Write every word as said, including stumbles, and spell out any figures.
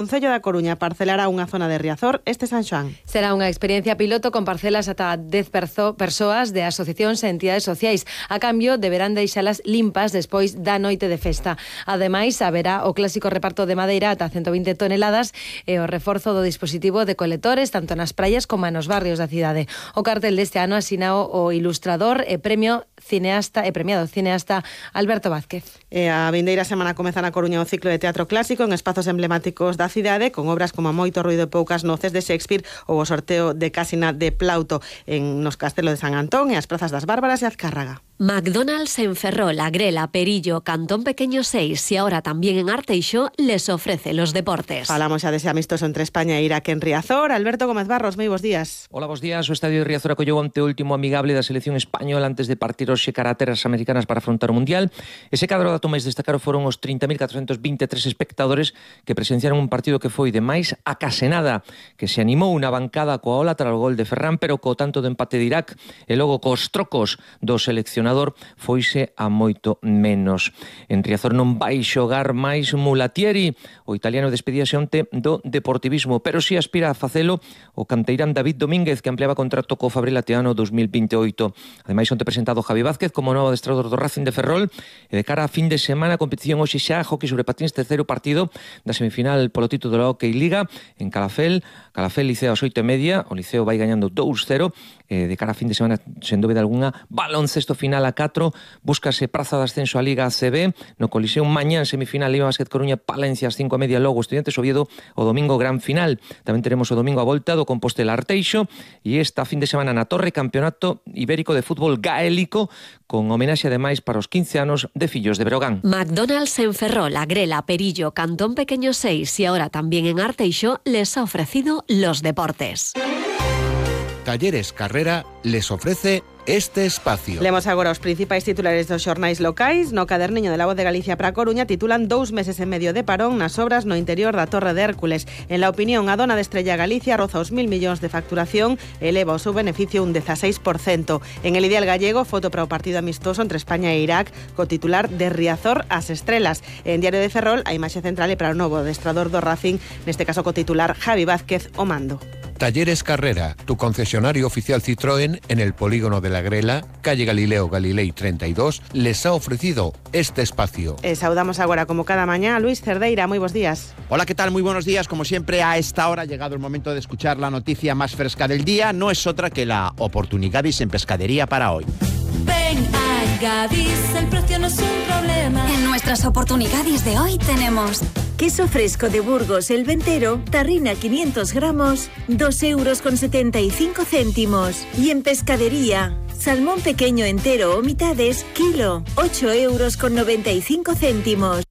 Concello da Coruña parcelará unha zona de Riazor este San Xoán. Será unha experiencia piloto con parcelas ata dez perso- persoas de asociacións e entidades sociais. A cambio, deberán deixalas limpas despois da noite de festa. Ademais, haberá o clásico reparto de madeira ata ciento vinte toneladas e o reforzo do dispositivo de coletores tanto nas praias como nos barrios da cidade. O cartel deste ano asinao o ilustrador e premio cineasta e premiado cineasta Alberto Vázquez. E a vindeira semana comeza na Coruña o ciclo de teatro clásico en espazos emblemáticos da cidade, con obras como Moito ruido e poucas noces de Shakespeare ou o sorteo de Casina de Plauto en nos Castelo de San Antón e as prazas das Bárbaras e Azcárraga. McDonald's en Ferrol, Agrela, Perillo, Cantón Pequeño seis y ahora también en Arteixo les ofrece los deportes. Falamos xa dese amistoso entre España e Irak en Riazor. Alberto Gómez Barros, moi bons días. Hola, bons días. O estadio de Riazor acolleu ante o último amigable da selección española antes de partir hoxe cara a terras americanas para afrontar o Mundial. Ese cadro dato máis destacado foron os trinta mil catrocentos vinte e tres espectadores que presenciaron un partido que foi de máis a case nada, que se animou unha bancada coa ola tras o gol de Ferran, pero co tanto do empate de Irak e logo cos trocos do seleccionador foise a moito menos. En Riazor non vai xogar máis Mulatieri. O italiano despedíase onte do Deportivismo, pero si aspira a facelo o canteirán David Domínguez, que ampliaba contrato co Fabril até ano dos mil vinte e oito. Ademais, onte presentado Javi Vázquez como novo adestrador do Racing de Ferrol e de cara a fin de semana a competición hoxe xa hockey sobre patins, terceiro partido da semifinal polo título da Hockey Liga en Calafel. Calafel Liceo ás oito e media, o Liceo vai gañando dous cero. Eh, de cara a fin de semana, sen dúbida alguna, baloncesto final a catro, búscase praza de ascenso a Liga A C B, no Coliseum mañán semifinal Liga Basket Coruña Palencia ás cinco e media, logo Estudiantes Oviedo o domingo gran final. Tamén teremos o domingo a volta do Compostela Arteixo e esta fin de semana na Torre Campeonato Ibérico de Fútbol Gaélico con homenaxe ademais para os quince anos de Fillos de Breogán. McDonald's en Ferrol, Agrela, Perillo, Cantón Pequeño seis y ahora también en Arteixo les ha ofrecido los deportes. Talleres Carrera les ofrece este espacio. Lemos agora os principais titulares dos xornais locais. No caderniño de La Voz de Galicia para a Coruña titulan dous meses e medio de parón nas obras no interior da Torre de Hércules. En la opinión, a dona de Estrella Galicia roza os mil millóns de facturación e eleva o seu beneficio un dezaseis por cento. En El Ideal Gallego, foto para o partido amistoso entre España e Irak, co titular de Riazor ás estrelas. En Diario de Ferrol, a imaxe central é para o novo adestrador do Racing, neste caso co titular Javi Vázquez o mando. Talleres Carrera, tu concesionario oficial Citroën en el polígono de La Grela, calle Galileo Galilei treinta y dos, les ha ofrecido este espacio. E saudamos agora, como cada mañá, a Luis Cerdeira. Moi bons días. Hola, ¿qué tal? Muy buenos días. Como siempre, a esta hora ha llegado el momento de escuchar la noticia más fresca del día. No es otra que la oportunidades en pescadería para hoy. Ven a Gadis, el precio no es un problema. En nuestras oportunidades de hoy tenemos queso fresco de Burgos El Ventero, tarrina quinientos gramos, dos euros con setenta y cinco céntimos. Y en pescadería, salmón pequeño entero o mitades, kilo, ocho euros con noventa y cinco céntimos.